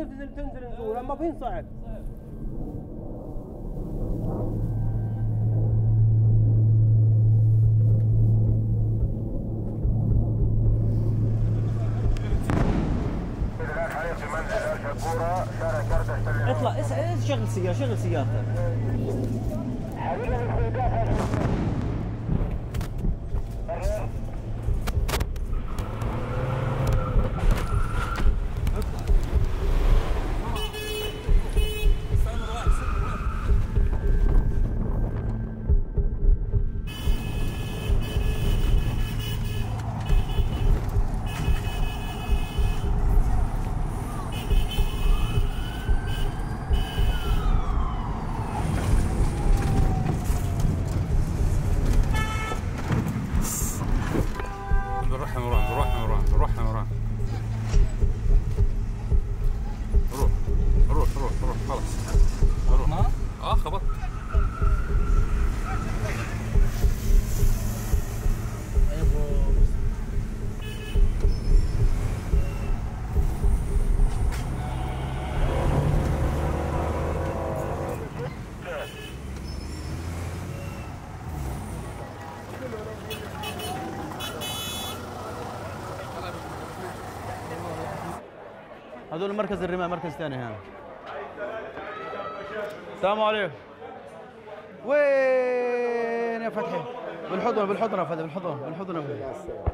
تنزل نزور، ما فين صعب. اطلع شغل سيارتك. روح خلاص. خبط. هذول مركز الرماء، مركز ثاني هنا. السلام عليكم. وين يا فتحي؟ بالحضن يا فتحي،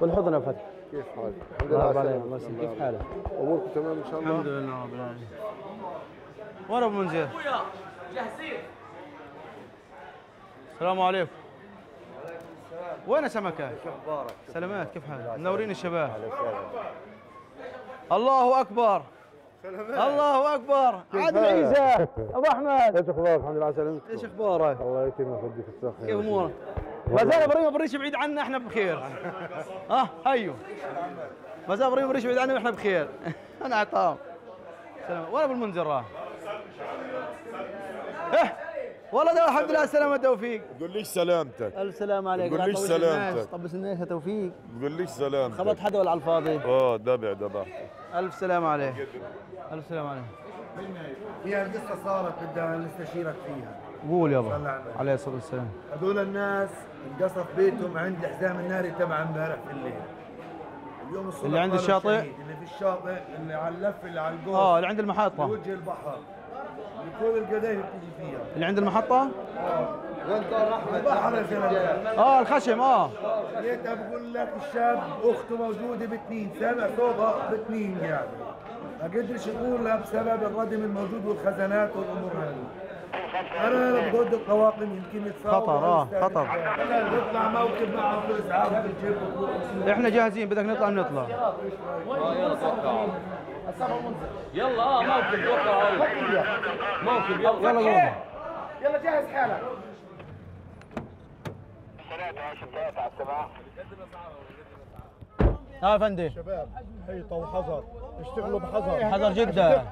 بالحضن يا فتحي. كيف حالك؟ الحمد لله عليك. كيف حالك؟ اموركم تمام ان شاء الله؟ الحمد لله رب العالمين. وين ابو منذر؟ جاهزين. السلام عليكم. وين سمكة؟ شو اخبارك؟ سلامات، كيف حالك؟ منورين الشباب. الله اكبر. سلامات. الله اكبر. عادل عيسى ابو احمد. ايش اخبارك؟ الحمد لله على سلامتك. ايش اخبارك؟ الله يكرمك ويديك الصحة. كيف امورك؟ ما زال ابراهيم بريش بعيد عنا، احنا بخير. هيو. ما زال ابراهيم بريش بعيد عنا واحنا بخير. انا عطام. سلام. وين ابو المنذر راح؟ والله ده الحمد لله على السلامة توفيق. بقول ليش سلامتك؟ الف سلام عليك. بقول ليش سلامتك؟ طبس الناس يا توفيق. بقول ليش سلامتك؟ خبط حدا ولا على الفاضي؟ دبع. الف سلام عليك. الف سلام عليك. فيها قصة صارت بدنا نستشيرك فيها. قول يابا. عليه الصلاة والسلام. هذول الناس انقصف بيتهم عند الحزام الناري تبع امبارح بالليل. اليوم الصبح اللي عند الشاطئ؟ اللي في الشاطئ، اللي على اللف، اللي على الجول. اللي عند المحطة. وجه البحر. كل القضايا بتيجي فيها. اللي عند المحطة؟ وين دار احمد؟ البحر يا زلمه. الخشم. لقيتها بقول لك الشاب اخته موجوده بتنين، سامع صوتها بتنين يعني. ما قدرش يقول لها بسبب الردم الموجود والخزانات والامور هذه. انا بضد الطواقم يمكن يتصاوبوا. خطر. نطلع موكب معهم في الاسعاف بالجيب. احنا جاهزين، بدك نطلع بنطلع. يلا موكب موكب يلا جهز حالك. يا فندم. شباب حيطة وحذر، اشتغلوا بحذر. حذر جدا.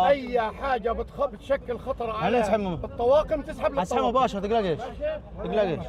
اي حاجة بتشكل خطر على هنسحب الطواقم، تسحب اسحب مباشرة. تقلقش.